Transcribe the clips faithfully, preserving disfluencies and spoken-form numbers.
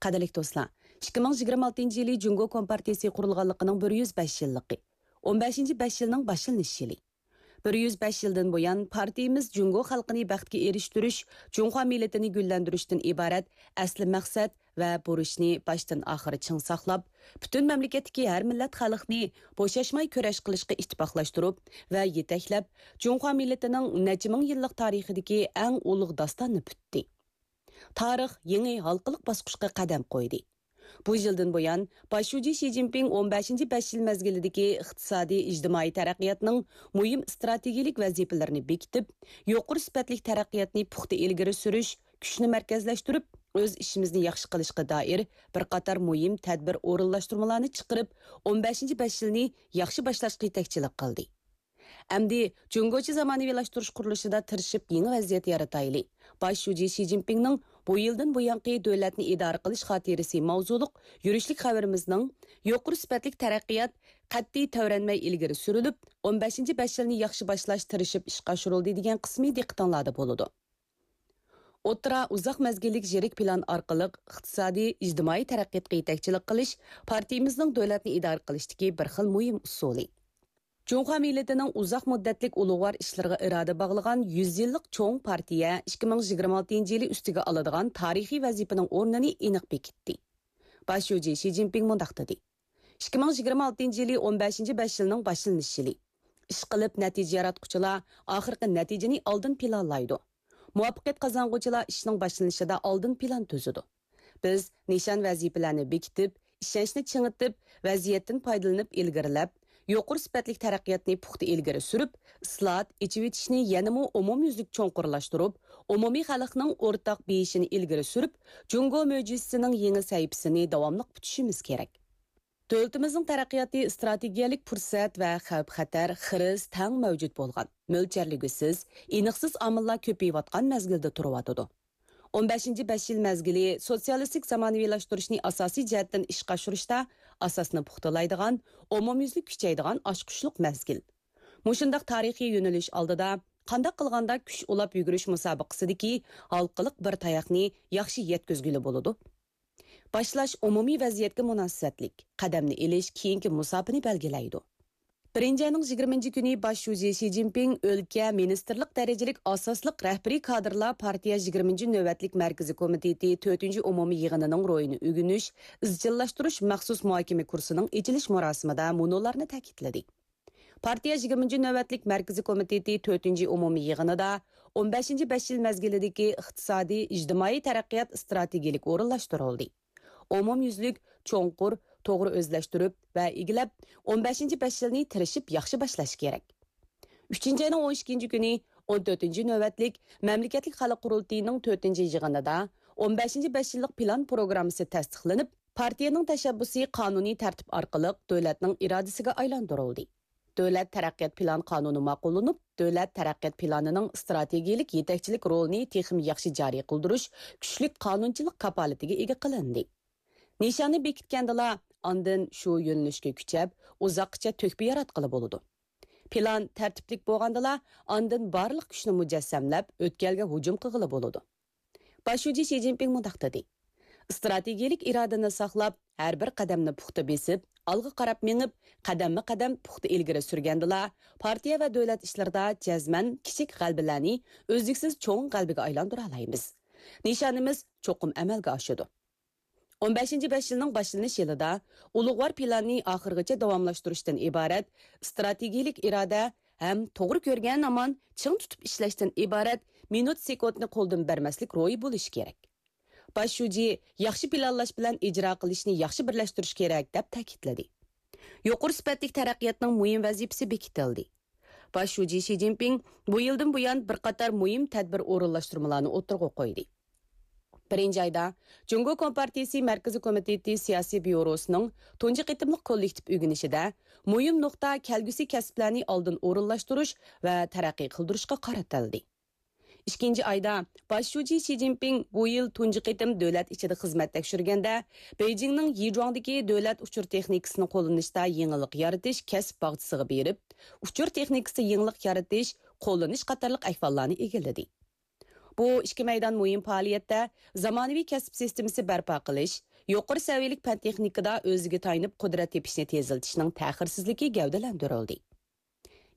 قەدىرلىك دوستلار، ئىككى مىڭ يىگىرمە ئالتىنچى يىلى جۇڭگو كومپارتىيىسى قۇرۇلغانلىقىنىڭ بىر يۈز بەش يىللىقى، ئون بەشىنچى بەش يىلنىڭ باشلىنىش يىلى. بىر يۈز بەش يىلدىن بۇيان، پارتىيىمىز جۇڭگو خەلقىنى بەختكە ئېرىشتۈرۈش، جۇڭخۇا مىللىتىنى گۈللەندۈرۈشتىن ئىبارەت ئەسلى مەقسەت ۋە بۇرچنى باشتىن ئاخىر چىڭ ساقلاپ، پۈتۈن مەملىكەتتىكى ھەر مىللەت خەلقنى بوشاشماي كۈرەش قىلىشقا ئىتتىپاقلاشتۇرۇپ ۋە يېتەكلەپ، جۇڭخۇا مىللىتىنىڭ نەچچە مىڭ يىللىق تارىخىدىكى ئەڭ ئۇلۇغ داستاننى پۈتتى. تارىخ يېڭى ھالقىلىق باسقۇچقا قەدەم قويدى. بۇ يىلدىن بۇيان، باش شۇجى شى جىنپىڭ ئون بەشىنچى بەش يىل مەزگىلىدىكى ئىقتىسادىي، ئىجتىمائىي تەرەققىياتنىڭ مۇھىم ئىستراتېگىيەلىك ۋەزىپىلىرىنى بېكىتىپ، يۇقىرى سۈپەتلىك تەرەققىياتنى پۇختا ئىلگىرى سۈرۈش، كۈچنى مەركەزلەشتۈرۈپ، ئۆز ئىشىمىزنى ياخشى قىلىشقا دائىر بىر قاتار مۇھىم تەدبىر ئورۇنلاشتۇرمىلارنى چىقىرىپ، ئون بەشىنچى بەش يىلنى ياخشى باشلاشقا يېتەكچىلىك قىلدى. ئەمدى جۇڭگوچە زامانىۋىلاشتۇرۇش قۇرۇلۇشىدا تىرىشىپ يېڭى ۋەزىيەت يارىتايلى. باش شۇجى شى جىنپىڭنىڭ بۇ يىلدىن بۇيانقى دۆلەتنى ئىدارە قىلىش خاتىرىسى ماۋزۇلۇق يۈرۈشلۈك خەۋىرىمىزنىڭ يۇقىرى سۈپەتلىك تەرەققىيات قەتئىي تەۋرەنمەي ئىلگىرى سۈرۈلۈپ، ئون بەشىنچى بەش يىلنى ياخشى باشلاش تىرىشىپ ئىشقا ئاشۇرۇلدى دېگەن قىسمى دىققىتىڭلاردا بولىدۇ. ئوتتۇرا، ئۇزاق مەزگىللىك يىرىك پىلان ئارقىلىق ئىقتىسادىي، ئىجتىمائىي تەرەققىياتقا يېتەكچىلىك قىلىش پارتىيىمىزنىڭ دۆلەتنى ئىدارە قىلىشتىكى بىر خىل مۇھىم ئۇسۇلى. جۇڭخۇا مىللىتىنىڭ ئۇزاق مۇددەتلىك ئۇلۇغۋار ئىشلىرىغا ئىرادە باغلىغان يۈز يىللىق چوڭ پارتىيە ئىككى مىڭ يىگىرمە ئالتىنچى يىلى ئۈستىگە ئالىدىغان تارىخىي ۋەزىپىنىڭ ئورنىنى ئېنىق بېكىتتى. باش شۇجى شى جىنپىڭ مۇنداق دېدى: ئىككى مىڭ يىگىرمە ئالتىنچى يىلى ئون بەشىنچى بەش يىلنىڭ باشلىنىش يىلى. ئىشقىلىپ، نەتىجە ياراتقۇچىلار ئاخىرقى نەتىجىنى ئالدىن پىلانلايدۇ. مۇۋەپپەقىيەت قازانغۇچىلار ئىشنىڭ باشلىنىشىدا ئالدىن پىلان تۈزىدۇ. بىز نىشان ۋەزىپىلەرنى بېكىتىپ، ئىشەنچنى چىڭىتىپ، ۋەزىيەتتىن پايدىلىنىپ ئىلگىرىلەپ، يۇقىرى سۈپەتلىك تەرەققىياتنى پۇختا ئىلگىرى سۈرۈپ، ئىسلاھات، ئېچىۋېتىشنى يەنىمۇ ئومۇميۈزلۈك چوڭقۇرلاشتۇرۇپ، ئومۇمىي خەلقنىڭ ئورتاق بېيىشىنى ئىلگىرى سۈرۈپ، جۇڭگو مۆجىزىسىنىڭ يېڭى سەھىپىسىنى داۋاملىق پۈتۈشىمىز كېرەك. دۆلىتىمىزنىڭ تەرەققىياتى ئىستراتېگىيەلىك پۇرسەت ۋە خەۋپ-خەتەر، خىرىس تەڭ مەۋجۇت بولغان، مۆلچەرلىگۈسىز، ئېنىقسىز ئامىللار كۆپىيىۋاتقان مەزگىلدە تۇرۇۋاتىدۇ. ئون بەشىنچى بەش يىل مەزگىلى سوتسىيالىستىك زامانىۋىلاشتۇرۇشنى ئاساسىي جەھەتتىن ئىشقا ئاشۇرۇشتا ئاساسنى پۇختىلايدىغان، ئومۇميۈزلۈك كۈچەيدىغان ئاچقۇچلۇق مەزگىل. مۇشۇنداق تارىخىي يۆنىلىش ئالدىدا قانداق قىلغاندا كۈچ ئۇلاپ يۈگۈرۈش مۇسابىقىسىدىكى ھالقىلىق بىر تاياقنى ياخشى يەتكۈزگىلى بولىدۇ؟ باشلاش ئومۇمىي ۋەزىيەتكە مۇناسىۋەتلىك، قەدەمنى ئېلىش كېيىنكى مۇساپىنى بەلگىلەيدۇ. بىرىنچى ئاينىڭ يىگىرمىنچى كۈنى باش شۇجى شى جىنپىڭ ئۆلكە مىنىستىرلىق دەرىجىلىك ئاساسلىق رەھبىرىي كادىرلار پارتىيە يىگىرمىنچى نۆۋەتلىك مەركىزىي كومىتېتى تۆتىنچى ئومۇمىي يىغىنىنىڭ روھىنى ئۆگىنىش، ئىزچىللاشتۇرۇش مەخسۇس مۇھاكىمە كۇرسىنىڭ ئېچىلىش مۇراسىمىدا مۇنۇلارنى تەكىتلىدى. پارتىيە يىگىرمىنچى نۆۋەتلىك مەركىزىي كومىتېتى تۆتىنچى ئومۇمىي يىغىنىدا ئون بەشىنچى بەش يىل مەزگىلىدىكى ئىقتىسادىي، ئىجتىمائىي تەرەققىيات ئىستراتېگىيەلىك ئورۇنلاشتۇرۇلدى. ئومۇميۈزلۈك، چوڭقۇر، توغرا ئۆزلەشتۈرۈپ ۋە ئىگىلەپ، ئون بەشىنچى بەش يىلنى تىرىشىپ ياخشى باشلاش كېرەك. ئۈچىنچى ئاينىڭ ئون ئىككىنچى كۈنى ئون تۆتىنچى نۆۋەتلىك مەملىكەتلىك خەلق قۇرۇلتىيىنىڭ تۆتىنچى يىغىنىدا ئون بەشىنچى بەش يىللىق پىلان پروگراممىسى تەستىقلىنىپ، پارتىيەنىڭ تەشەببۇسى قانۇنىي تەرتىپ ئارقىلىق دۆلەتنىڭ ئىرادىسىگە ئايلاندۇرۇلدى. دۆلەت تەرەققىيات پىلان قانۇنى ماقۇللىنىپ، دۆلەت تەرەققىيات پىلانىنىڭ ئىستراتېگىيەلىك يېتەكچىلىك رولىنى تېخىمۇ ياخشى جارى قىلدۇرۇش كۈچلۈك قانۇنچىلىق كاپالىتىگە ئىگە قىلىندى. نىشاننى بېكىتكەندىلا، ئاندىن شۇ يۆنىلىشكە كۈچەپ، ئۇزاققىچە تۆھپە ياراتقىلى بولىدۇ. پىلان تەرتىپلىك بولغاندىلا، ئاندىن بارلىق كۈچنى مۇجەسسەملەپ، ئۆتكەلگە ھۇجۇم قىلغىلى بولىدۇ. باش شۇجى شى جىنپىڭ مۇنداق دېدى: ئىستراتېگىيەلىك ئىرادىنى ساقلاپ، ھەر بىر قەدەمنى پۇختا بېسىپ، ئالغا قاراپ مېڭىپ، قەدەممۇ قەدەم پۇختا ئىلگىرى سۈرگەندىلا، پارتىيە ۋە دۆلەت ئىشلىرىدا جەزمەن كىچىك غەلىبىلەرنى ئۈزلۈكسىز چوڭ غەلىبىگە ئايلاندۇرالايمىز. نىشانىمىز چوقۇم ئەمەلگە ئاشىدۇ. ئون بەشىنچى بەش يىلنىڭ باشلىنىش يىلىدا ئۇلۇغۋار پىلاننى ئاخىرغىچە داۋاملاشتۇرۇشتىن ئىبارەت ئىستراتېگىيەلىك ئىرادە ھەم توغرا كۆرگەن ھامان چىڭ تۇتۇپ ئىشلەشتىن ئىبارەت مىنۇت سېكۇنتنى قولدىن بەرمەسلىك روھى بولۇشى كېرەك. باش شۇجى ياخشى پىلانلاش بىلەن ئىجرا قىلىشنى ياخشى بىرلەشتۈرۈش كېرەك، دەپ تەكىتلىدى. يۇقىرى سۈپەتلىك تەرەققىياتنىڭ مۇھىم ۋەزىپىسى بېكىتىلدى. باش شۇجى شى جىنپىڭ بۇ يىلدىن بۇيان بىر قاتار مۇھىم تەدبىر ئورۇنلاشتۇرمىلارنى ئوتتۇرىغا قويدى. بىرىنچى ئايدا، جۇڭگو كومپارتىيىسى مەركىزىي كومىتېتى سىياسىي بيۇروسىنىڭ تۇنجى قېتىملىق كوللېكتىپ ئۆگىنىشىدە مۇھىم نۇقتا كەلگۈسى كەسىپلەرنى ئالدىن ئورۇنلاشتۇرۇش ۋە تەرەققىي قىلدۇرۇشقا قارىتىلدى. ئىككىنچى ئايدا، باش شۇجى شى جىنپىڭ بۇ يىل تۇنجى قېتىم دۆلەت ئىچىدە خىزمەت تەكشۈرگەندە، بېيجىڭنىڭ يىجۇاڭدىكى دۆلەت ئۇچۇر تېخنىكىسىنى قوللىنىشتا يېڭىلىق يارىتىش كەسىپ باغچىسىغا بېرىپ، ئۇچۇر تېخنىكىسىدا يېڭىلىق يارىتىش، قوللىنىش قاتارلىق ئەھۋاللارنى ئىگىلىدى. بۇ ئىككى مەيدان مۇھىم پائالىيەتتە زامانىۋى كەسىپ سىستېمىسى بەرپا قىلىش، يۇقىرى سەۋىيەلىك پەن-تېخنىكىدا ئۆزىگە تايىنىپ قۇدرەت تېپىشنى تېزلىتىشنىڭ تەخىرسىزلىكى گەۋدىلەندۈرۈلدى.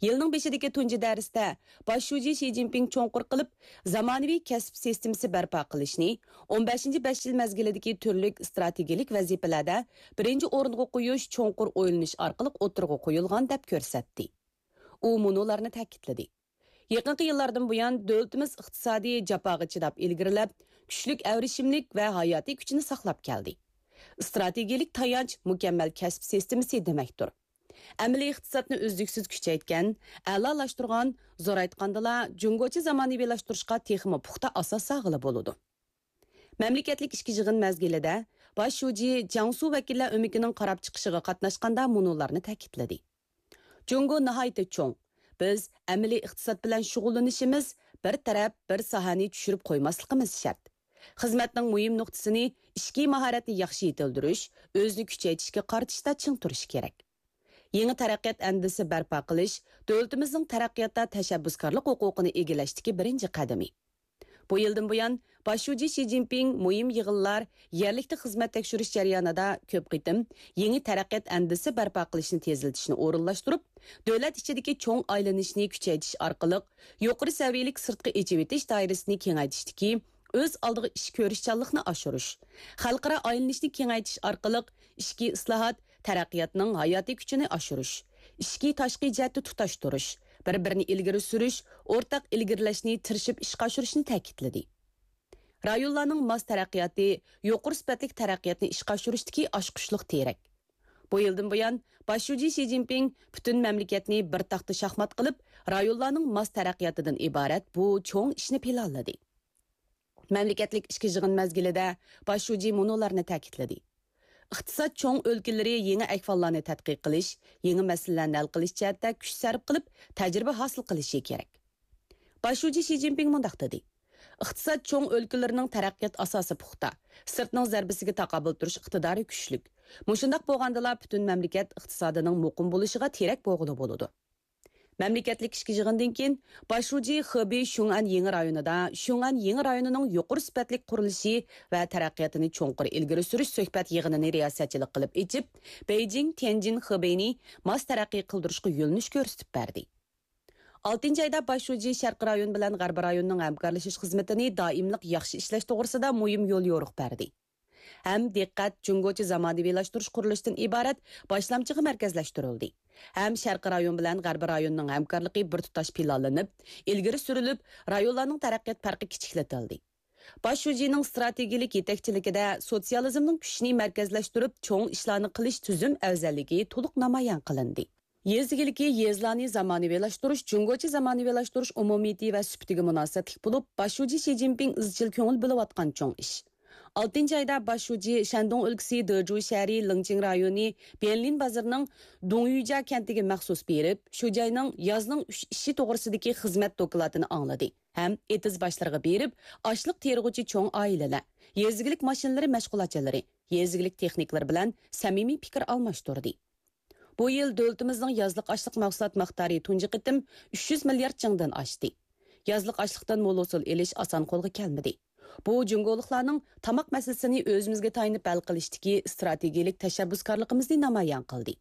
يىلنىڭ بېشىدىكى تۇنجى دەرستە باش شۇجى شى جىنپىڭ چوڭقۇر قىلىپ زامانىۋى كەسىپ سىستېمىسى بەرپا قىلىشنى، ئون بەشىنچى بەش يىل مەزگىلىدىكى تۈرلۈك ئىستراتېگىيەلىك ۋەزىپىلەردە بىرىنچى ئورۇنغا قويۇش چوڭقۇر ئويلىنىش ئارقىلىق ئوتتۇرىغا قويۇلغان دەپ كۆرسەتتى. ئۇ مۇنۇلارنى تەكىتلىدى: يېقىنقى يىللاردىن بۇيان، دۆلىتىمىز ئىقتىسادىي جاپاغا چىداپ ئىلگىرىلەپ، كۈچلۈك ئەۋرىشىملىك ۋە ھاياتىي كۈچىنى ساقلاپ كەلدى. ئىستراتېگىيەلىك تايانچ مۇكەممەل كەسىپ سىستېمىسى دېمەكتۇر. ئەمەلىي ئىقتىسادنى ئۈزلۈكسىز كۈچەيتكەن، ئەلالاشتۇرغان، زورايتقاندىلا، جۇڭگوچە زامانىۋىلاشتۇرۇشقا تېخىمۇ پۇختا ئاساس سالغىلى بولىدۇ. مەملىكەتلىك ئىككى يىغىن مەزگىلىدە باش شۇجى جياڭسۇ ۋەكىللەر ئۆمىكىنىڭ قاراپ چىقىشىغا قاتناشقاندا مۇنۇلارنى تەكىتلىدى: جۇڭگو ناھايىتى چوڭ. بىز ئەمەلىي ئىقتىساد بىلەن شۇغۇللىنىشىمىز، بىر تەرەپ، بىر ساھەنى چۈشۈرۈپ قويماسلىقىمىز شەرت. خىزمەتنىڭ مۇھىم نۇقتىسىنى ئىچكى ماھارەتنى ياخشى يېتىلدۈرۈش، ئۆزىنى كۈچەيتىشكە قارىتىشتا چىڭ تۇرۇش كېرەك. يېڭى تەرەققىيات ئەندىزىسى بەرپا قىلىش دۆلىتىمىزنىڭ تەرەققىياتتا تەشەببۇسكارلىق ھوقۇقىنى ئىگىلەشتىكى بىرىنچى قەدىمى. بۇ يىلدىن بۇيان، باش شۇجى شى جىنپىڭ مۇھىم يىغىنلار، يەرلىكتە خىزمەت تەكشۈرۈش جەريانىدا كۆپ قېتىم يېڭى تەرەققىيات ئەندىزىسى بەرپا قىلىشنى تېزلىتىشنى ئورۇنلاشتۇرۇپ، دۆلەت ئىچىدىكى چوڭ ئايلىنىشنى كۈچەيتىش ئارقىلىق، يۇقىرى سەۋىيەلىك سىرتقا ئېچىۋېتىش دائىرىسىنى كېڭەيتىشتىكى ئۆز ئالدىغا ئىش كۆرۈشچانلىقنى ئاشۇرۇش، خەلقئارا ئايلىنىشنى كېڭەيتىش ئارقىلىق ئىچكى ئىسلاھات، تەرەققىياتنىڭ ھاياتىي كۈچىنى ئاشۇرۇش، ئىچكى تاشقى جەھەتتە تۇتاشتۇرۇش، بىر-بىرىنى ئىلگىرى سۈرۈش، ئورتاق ئىلگىرىلەشنى تىرىشىپ ئىشقا ئاشۇرۇشنى تەكىتلىدى. رايونلارنىڭ ماس تەرەققىياتى يۇقىرى سۈپەتلىك تەرەققىياتنى ئىشقا ئاشۇرۇشتىكى ئاچقۇچلۇق تىرەك. بۇ يىلدىن بۇيان، باش شۇجى شى جىنپىڭ پۈتۈن مەملىكەتنى بىر تاختا شاھمات قىلىپ، رايونلارنىڭ ماس تەرەققىياتىدىن ئىبارەت بۇ چوڭ ئىشنى پىلانلىدى. مەملىكەتلىك ئىككى يىغىن مەزگىلىدە باش شۇجى مۇنۇلارنى تەكىتلىدى: ئىقتىساد چوڭ ئۆلكىلىرى يېڭى ئەھۋاللارنى تەتقىق قىلىش، يېڭى مەسىلىلەرنى ھەل قىلىش جەھەتتە كۈچ سەرپ قىلىپ، تەجرىبە ھاسىل قىلىشى كېرەك. باش شۇجى شى جىنپىڭ مۇنداق دېدى: ئىقتىساد چوڭ ئۆلكىلىرىنىڭ تەرەققىيات ئاساسى پۇختا، سىرتنىڭ زەربىسىگە تاقابىل تۇرۇش ئىقتىدارى كۈچلۈك. مۇشۇنداق بولغاندىلا پۈتۈن مەملىكەت ئىقتىسادىنىڭ مۇقىم بولۇشىغا تىرەك بولغىلى بولىدۇ. مەملىكەتلىك ئىككى يىغىندىن كېيىن، باش شۇجى خېبېي شۇڭئەن يېڭى رايونىدا شۇڭئەن يېڭى رايونىنىڭ يۇقىرى سۈپەتلىك قۇرۇلۇشى ۋە تەرەققىياتىنى چوڭقۇر ئىلگىرى سۈرۈش سۆھبەت يىغىنىنى رىياسەتچىلىك قىلىپ ئېچىپ، بېيجىڭ، تيەنجىن، خېبېينى ماس تەرەققىي قىلدۇرۇشقا يۆنىلىش كۆرسىتىپ بەردى. ئالتىنچى ئايدا باش شۇجى شەرقىي رايون بىلەن غەربىي رايوننىڭ ھەمكارلىشىش خىزمىتىنى دائىملىق ياخشى ئىشلەش توغرىسىدا مۇھىم يوليورۇق بەردى. ھەم دىققەت جۇڭگوچە زامانىۋىلاشتۇرۇش قۇرۇلۇشىدىن ئىبارەت باشلامچىغا مەركەزلەشتۈرۈلدى. ھەم شەرقىي رايون بىلەن غەربىي رايوننىڭ ھەمكارلىقى بىر تۇتاش پىلانلىنىپ، ئىلگىرى سۈرۈلۈپ، رايونلارنىڭ تەرەققىيات پەرقى كىچىكلىتىلدى. باش شۇجىنىڭ ئىستراتېگىيەلىك يېتەكچىلىكىدە سوتسىيالىزمنىڭ كۈچىنى مەركەزلەشتۈرۈپ، چوڭ ئىشلارنى قىلىش تۈزۈم ئەۋزەللىكى تولۇق نامايان قىلىندى. يېزا ئىگىلىكى، يېزىلارنى زامانىۋىلاشتۇرۇش جۇڭگوچە زامانىۋىلاشتۇرۇش ئومۇمىيىتى ۋە سۈپىتىگە مۇناسىۋەتلىك بولۇپ، باش شۇجى شى جىنپىڭ ئىزچىل كۆڭۈل بۆلۈۋاتقان چوڭ ئىش. ئالتىنچى ئايدا باش شۇجى شەندۇڭ ئۆلكىسى دېجۇ شەھىرى لىڭچىڭ رايونى بيەنلىن بازىرىنىڭ دۇڭيۈجيا كەنتىگە مەخسۇس بېرىپ، شۇ جاينىڭ يازنىڭ ئۈچ ئىشى توغرىسىدىكى خىزمەت دوكلاتىنى ئاڭلىدى ھەم ئېتىز باشلىرىغا بېرىپ، ئاشلىق تېرىغۇچى چوڭ ئائىلىلەر، يېزا ئىگىلىك ماشىنىلىرى مەشغۇلاتچىلىرى، يېزا ئىگىلىك تېخنىكلىرى بىلەن سەمىمىي پىكىر ئالماشتۇردى. بۇ يىل دۆلىتىمىزنىڭ يازلىق ئاشلىق مەھسۇلات مىقدارى تۇنجى قېتىم ئۈچ يۈز مىليارد چىڭدىن ئاشتى. يازلىق ئاشلىقتىن مول ھوسۇل ئېلىش ئاسان قولغا كەلمىدى. بۇ جۇڭگولۇقلارنىڭ تاماق مەسىلىسىنى ئۆزىمىزگە تايىنىپ ھەل قىلىشتىكى ئىستراتېگىيەلىك تەشەببۇسكارلىقىمىزنى نامايان قىلدى.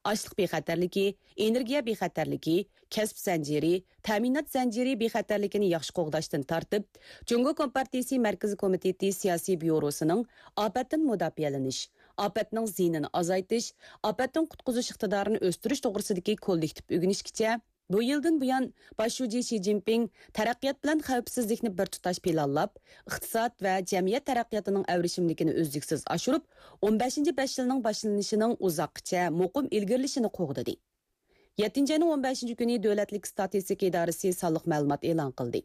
ئاشلىق بىخەتەرلىكى، ئېنېرگىيە بىخەتەرلىكى، كەسىپ زەنجىرى، تەمىنات زەنجىرى بىخەتەرلىكىنى ياخشى قوغداشتىن تارتىپ، جۇڭگو كومپارتىيىسى مەركىزىي كومىتېتى سىياسىي بيۇروسىنىڭ ئاپەتتىن مۇداپىئەلىنىش، ئاپەتنىڭ زىيىنىنى ئازايتىش، ئاپەتتىن قۇتقۇزۇش ئىقتىدارىنى ئۆستۈرۈش توغرىسىدىكى كوللېكتىپ ئۆگىنىشكىچە، بۇ يىلدىن بۇيان، باش شۇجى شى جىنپىڭ تەرەققىيات بىلەن خەۋپسىزلىكنى بىر تۇتاش پىلانلاپ، ئىقتىساد ۋە جەمئىيەت تەرەققىياتىنىڭ ئەۋرىشىملىكىنى ئۈزلۈكسىز ئاشۇرۇپ، ئون بەشىنچى بەش يىلنىڭ باشلىنىشىنىڭ ئۇزاققىچە مۇقىم ئىلگىرىلىشىنى قوغدىدى. يەتتىنچى ئاينىڭ ئون بەشىنچى كۈنى دۆلەتلىك ستاتىستىكا ئىدارىسى سانلىق مەلۇمات ئېلان قىلدى.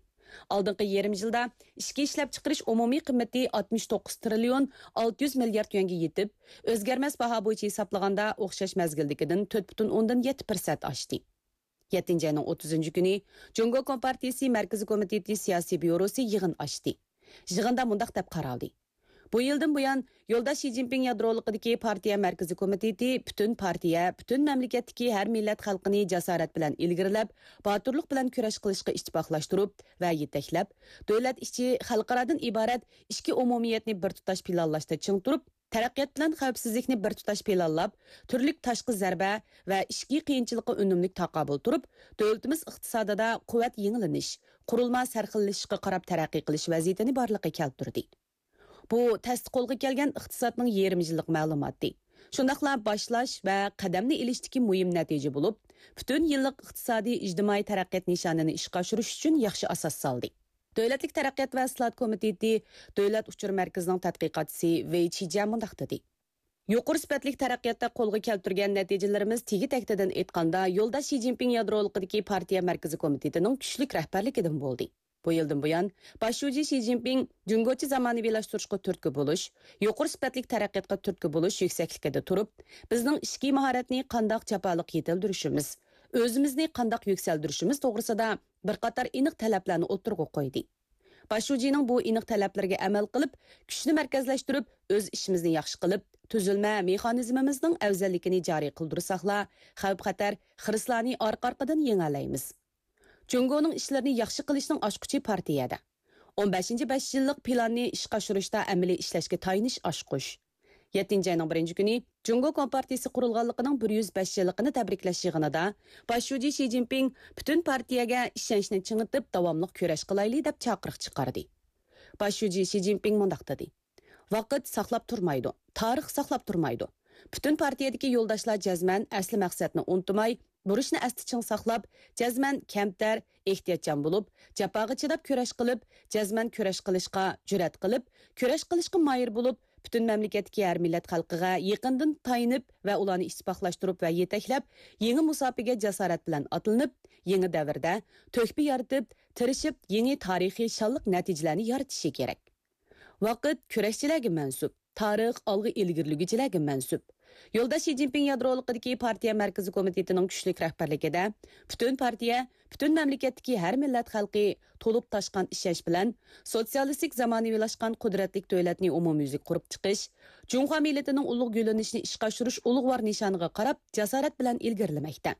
ئالدىنقى يېرىم يىلدا ئىچكى ئىشلەپچىقىرىش ئومۇمىي قىممىتى ئاتمىش توققۇز تىرىليون ئالتە يۈز مىليارد يۈەنگە يېتىپ، ئۆزگەرمەس باھا بويىچە ھېسابلىغاندا ئوخشاش مەزگىلدىكىدىن تۆت پۈتۈن ئوندىن يەتتە پىرسەنت ئاشتى. يەتتىنچى ئاينىڭ ئوتتۇزىنچى كۈنى جۇڭگو كومپارتىيىسى مەركىزىي كومىتېتى سىياسىي بيۇروسى يىغىن ئاچتى. يىغىندا مۇنداق دەپ قارالدى: بۇ يىلدىن بۇيان، يولداش شى جىنپىڭ يادرولۇقىدىكى پارتىيە مەركىزىي كومىتېتى پۈتۈن پارتىيە، پۈتۈن مەملىكەتتىكى ھەر مىللەت خەلقىنى جاسارەت بىلەن ئىلگىرىلەپ، باتۇرلۇق بىلەن كۈرەش قىلىشقا ئىتتىپاقلاشتۇرۇپ ۋە يېتەكلەپ، دۆلەت ئىچى، خەلقئارادىن ئىبارەت ئىككى ئومۇمىيەتنى بىر تۇتاش پىلانلاشتا چىڭ تۇرۇپ، تەرەققىيات بىلەن خەۋپسىزلىكنى بىر تۇتاش پىلانلاپ، تۈرلۈك تاشقى زەربە ۋە ئىچكى قىيىنچىلىققا ئۈنۈملۈك تاقابىل تۇرۇپ، دۆلىتىمىز ئىقتىسادىدا قۇۋۋەت يېڭىلىنىش، قۇرۇلما سەرخىللىشىشقا قاراپ تەرەققىي قىلىش ۋەزىيىتىنى بارلىققا كەلتۈردى. بۇ تەستە قولغا كەلگەن ئىقتىسادنىڭ يېرىم يىللىق مەلۇماتى، شۇنداقلا باشلاش ۋە قەدەمنى ئېلىشتىكى مۇھىم نەتىجە بولۇپ، پۈتۈن يىللىق ئىقتىسادىي ئىجتىمائىي تەرەققىيات نىشانىنى ئىشقا ئاشۇرۇش ئۈچۈن ياخشى ئاساس سالدى. دۆلەتلىك تەرەققىيات ۋە ئىسلاھات كومىتېتى دۆلەت ئۇچۇر مەركىزىنىڭ تەتقىقاتچىسى ۋېي چىجيەن مۇنداق دېدى: يۇقىرى سۈپەتلىك تەرەققىياتتا قولغا كەلتۈرگەن نەتىجىلىرىمىز تېگى-تەكتىدىن ئېيتقاندا، يولداش شى جىنپىڭ يادرولۇقىدىكى پارتىيە مەركىزىي كومىتېتىنىڭ كۈچلۈك رەھبەرلىكىدىن بولدى. بۇ يىلدىن بۇيان، باش شۇجى شى جىنپىڭ جۇڭگوچە زامانىۋىلاشتۇرۇشقا تۈرتكە بولۇش، يۇقىرى سۈپەتلىك تەرەققىياتقا تۈرتكە بولۇش يۈكسەكلىكىدە تۇرۇپ، بىزنىڭ ئىچكى ماھارەتنى قانداق جاپالىق يېتىلدۈرۈشىمىز، ئۆزىمىزنى قانداق يۈكسەلدۈرۈشىمىز توغرىسىدا بىر قاتار ئېنىق تەلەپلەرنى ئوتتۇرىغا قويدى. باش شۇجىنىڭ بۇ ئېنىق تەلەپلىرىگە ئەمەل قىلىپ، كۈچنى مەركەزلەشتۈرۈپ، ئۆز ئىشىمىزنى ياخشى قىلىپ، تۈزۈلمە مېخانىزمىمىزنىڭ ئەۋزەللىكىنى جارى قىلدۇرساقلا، خەۋپ-خەتەر، خىرىسلارنى ئارقا-ئارقىدىن يېڭەلەيمىز. جۇڭگونىڭ ئىشلىرىنى ياخشى قىلىشنىڭ ئاچقۇچى پارتىيەدە. ئون بەشىنچى بەش يىللىق پىلاننى ئىشقا ئاشۇرۇشتا ئەمەلىي ئىشلەشكە تايىنىش ئاچقۇچ. يەتتىنچى ئاينىڭ بىرىنچى كۈنى جۇڭگو كومپارتىيىسى قۇرۇلغانلىقىنىڭ بىر يۈز بەش يىللىقىنى تەبرىكلەش يىغىنىدا باش شۇجى شى جىنپىڭ پۈتۈن پارتىيەگە ئىشەنچنى چىڭىتىپ، داۋاملىق كۈرەش قىلايلى، دەپ چاقىرىق چىقاردى. باش شۇجى شى جىنپىڭ مۇنداق دېدى: ۋاقىت ساقلاپ تۇرمايدۇ، تارىخ ساقلاپ تۇرمايدۇ. پۈتۈن پارتىيەدىكى يولداشلار جەزمەن ئەسلى مەقسەتنى ئۇنتۇماي، بۇرچنى ئەستە چىڭ ساقلاپ، جەزمەن كەمتەر، ئېھتىياتچان بولۇپ، جاپاغا چىداپ كۈرەش قىلىپ، جەزمەن كۈرەش قىلىشقا جۈرئەت قىلىپ، كۈرەش قىلىشقا ماھىر بولۇپ، پۈتۈن مەملىكەتتىكى ھەر مىللەت خەلقىگە يېقىندىن تايىنىپ ۋە ئۇلارنى ئىتتىپاقلاشتۇرۇپ ۋە يېتەكلەپ، يېڭى مۇساپىگە جاسارەت بىلەن ئاتلىنىپ، يېڭى دەۋردە تۆھپە يارىتىپ، تىرىشىپ، يېڭى تارىخىي شانلىق نەتىجىلەرنى يارىتىشى كېرەك. ۋاقىت كۈرەشچىلەرگە مەنسۇپ، تارىخ ئالغا ئىلگىرىلىگۈچىلەرگە مەنسۇپ. يولداش شى جىنپىڭ يادرولۇقىدىكى پارتىيە مەركىزىي كومىتېتىنىڭ كۈچلۈك رەھبەرلىكىدە پۈتۈن پارتىيە، پۈتۈن مەملىكەتتىكى ھەر مىللەت خەلقى تولۇپ تاشقان ئىشەنچ بىلەن سوتسىيالىستىك زامانىۋىلاشقان قۇدرەتلىك دۆلەتنى ئومۇميۈزلۈك قۇرۇپ چىقىش، جۇڭخۇا مىللىتىنىڭ ئۇلۇغ گۈللىنىشىنى ئىشقا ئاشۇرۇش ئۇلۇغۋار نىشانىغا قاراپ جاسارەت بىلەن ئىلگىرىلىمەكتە.